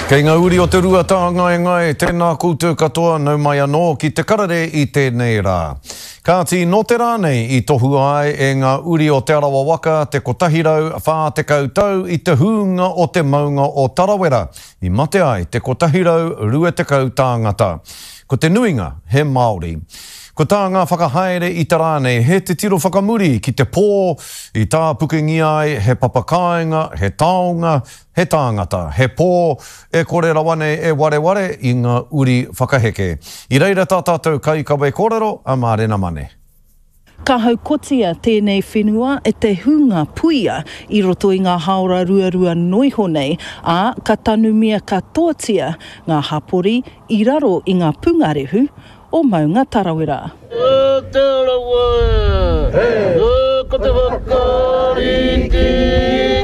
Kei ngā uri o te Ruatāngaengae, tēnā koutou katoa, nau mai anō ki te karere i tēnei rā. Kāti, nō te rā nei i tohua ai e ngā uri o Te Arawa waka te 140 tau i te hūnga o te maunga o Tarawera, i mate ai te 120 tāngata. Ko te nuinga he Māori. Ko tā ngā whakahaere i te rā nei he titiro whakamuri ki te pō i tāpukengia ai he papa kāinga, he taonga, he tāngata, he pō e kore rawa nei e wareware i ngā uri whakaheke. I reira tā tātou kaikawe kōrero a Mārena Mane. Ka haukotia tēnei whenua e te hunga puia i roto i ngā hāora ruarua noiho nei, ā, ka tanumia katoatia ngā hapori i raro i ngā pungarehu o Maunga Tarawera. E te rawa e, e ko te whakariki,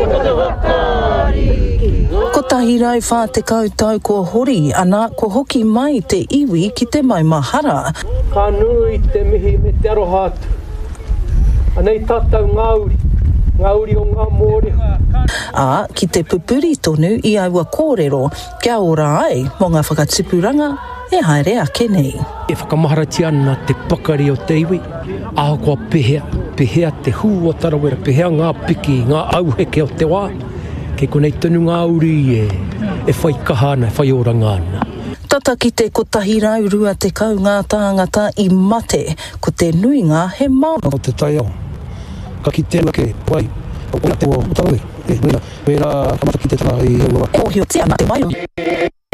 ko te whakariki. 140 tau kua hori, ana, kua hoki mai te iwi ki te maumahara. Ka nui te mihi me te aroha atu. Anei tātou ngā uri, ngā uri o ngā mōrehu. Ā, ki te pupuri tonu i aua kōrero kia ora ai mō ngā whakatupuranga e haere ake nei. E whakamaharatia ana te pakari o te iwi, ahakoa pehea, pehea te hū o Tarawera, pehea ngā piki, ngā auheke o te wā, kei konei tonu ngā uri e whai kaha ana, e whai oranga ana. Tata ki te 120 ngā tāngata i mate, ko te nuinga he Māori. O te taiao, ka kitea ake wai, o te o Tarawera, e, wera, wera ka matakitetanga i aua wā. E mōhiotia ana te wairua.